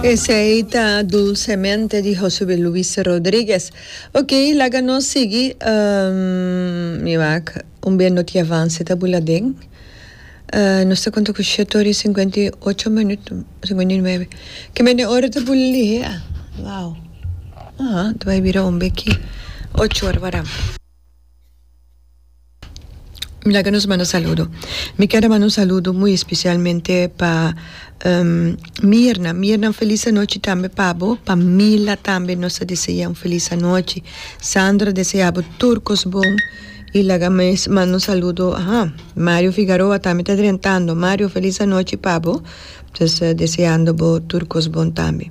Esey ta Dulcemente di Josue Luis Rodriguez. Ok, laga nos sigui. Mi wak un bia no tin avance ta bula den. Nos ta konta ku shete ora i sinkuenta i ocho minüt, sinkuenta i nuebe. Ke mende ora ta bula lihe a? Wow. Aha, ta bai bira un beki ocho ora wara. Mi laga nos manda saludo. Mi kier a manda un saludo muy especialmente pa Mirna. Mirna un feliz anochi tambe pa bo. Pa Mila tambe nos ta desea un feliz anochi. Sandra desea bo tur cos bon. Y laga mes manda un saludo, aha, Mario Figaroa tambe ta drentando. Mario feliz anochi pa bo. Pues deseando bo tur cos bon tambe.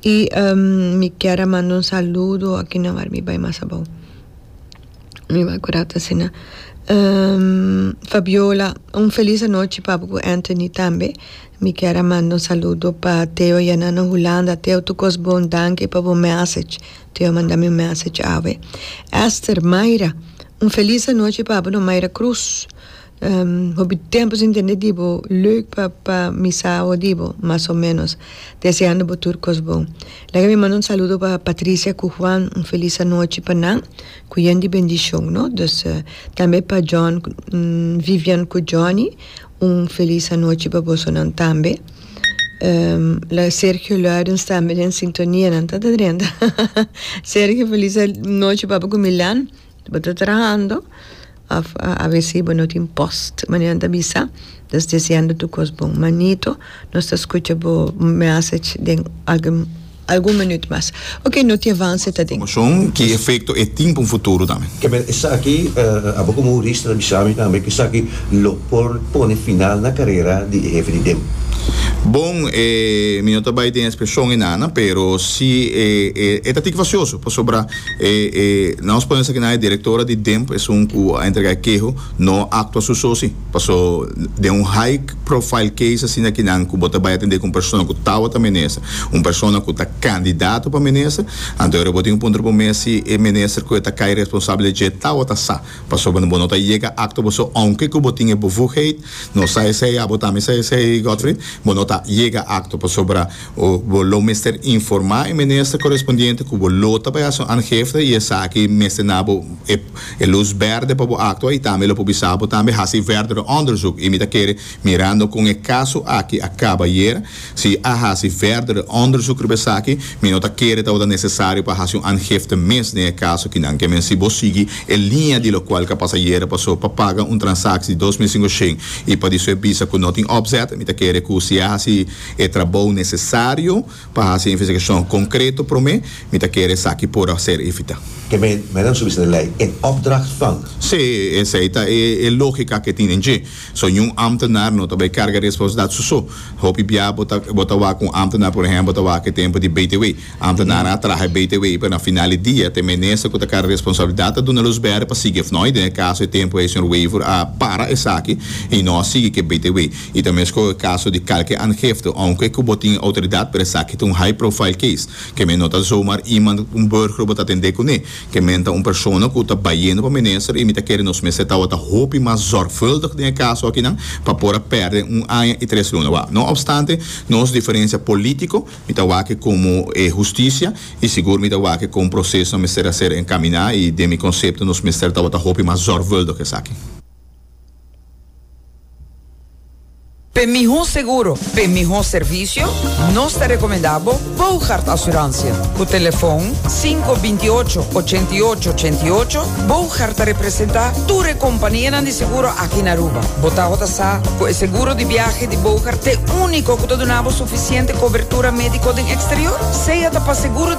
Y mi kier a manda un saludo, aki nan wak mi bay mas abou. Mi bai ku rato asina. Fabiola, un felis anochi pa bo ku Anthony tambe. Mi kier a manda un saludo pa Theo ya na Hulanda. Theo tur kos bon, danki pa bo message. Theo a manda mi un message awe. Esther, Mayra, un felis anochi pa bo no Mayra Cruz. Hopi tempo sin tende di bo, leuk pa pa mi sa awo di bo, mas o menos. Deseando bo tur kos bon. Laga mi manda un saludo pa Patricia ku Juan, un felis anochi pa nan, ku yen di bendishon no. Dus tambe pa John, Vivian ku Johnny, un felis anochi pa bosonan tambe. La Sergio Luidens tambe den sintonia, nan ta ta drenta. Sergio felis anochi pa bo ku Milan. Bo ta trahando of avesi bo no tin post manera nan ta bisa nos deseando tur kos bon manito nos ta skucha bo message den algun algun minuut mas ok no tin avance ta den. Informacion ki efecto e tin pa un futuro tambe. Kebel esaki abo komo hurista ta bisa mi tambe ku esaki lo por pone final na karera di e hefe di dem. Bon e mi no ta bai den expresion enana pero si e e ta tik fasioso pasobra E e nos pone esaki nan e directora di DEMP esun cu a entrega e keho no a actua su so si. Paso den un high profile case asina aki nan cu bo ta bay atende cu un persona cu tawata minister, un persona cu ta candidato pa minister, anto ora bo tin un puntra bo mes si e minister cu e ta cay responsabel dje tawata sa. Pasobra bo no ta yega actua bo so aunke cu bo tin e bevoegheid, nos sa esey, abo tambe sa esey Godfried, bo no ta yega actua pasobra Bo lo mester informá e minister korespondiente ku bo lo ta bai hasi un aangifte i esaki mester na bo e lus bèrdè pa bo aktua i tambe lo por bisa bo tambe hasi verdere onderzoek. I mi ta kere mirando kon e kaso aki a kaba ayer, si a hasi verdere onderzoek riba esaki, mi no ta kere tabata nesesario pa hasi un aangifte mes den e kaso kinan. Ke men si bo sigui e liña di lokual ka pasa ayer paso pa paga un transaksie di 2500 i pa di su e bisa ku no tin opzet, mi ta kere ku si a hasi E trabou nesesario pa hasi investigashon konkreto promé, mi ta kere esaki por a ser evitá. Ke men men su bisa den lei in opdracht van. Sí, esei ta e e lógika ke tin den dje. So niun ámtenar no ta bai karga responsabilidat su so. Hopi bia bo ta bo ta wak un ámtenar, por ehèmpel, ta wak e tempu di BTW. Ámtenarnan a traha e BTW, pero na final di dia ta e minister ku ta karga responsabilidat ta duna lus bèrdè pa sigui òf no. I den e kaso e tempu ei señor Wever a para esaki i no a sigui ku e BTW. I ta mesco e caso di calke aangifte, aunke cu bo tin autoridad, pero esaki ta un high profile case. Ke men no ta zomaar iemand, un burger bo ta atende cune. Ke men ta un persona cu ta bayendo pa minister y mi ta kere nos mester tawata hopi mas zorgvuldig den e caso akinan pa por a perde un aña y tres luna. Wak, no obstante nos diferencia politico, mi ta wak como e husticia y sigur mi ta wak con proceso mester a ser encamina y den mi concepto nos mester tawata hopi mas zorgvuldig esaki. P'e mihó seguro, p'e mihó servisio, nos ta rekomendá bo Boogaard Assurantie. Ku telefon sinku 28 88 88, Boogaard ta representá tur e kompanianan di seguro aki na Aruba. Bo tabata sa ku e seguro di biahe di Boogaard t'e úniko ku ta duna bo sufisiente kobertura médiko den eksterior? Sea ta pa seguro.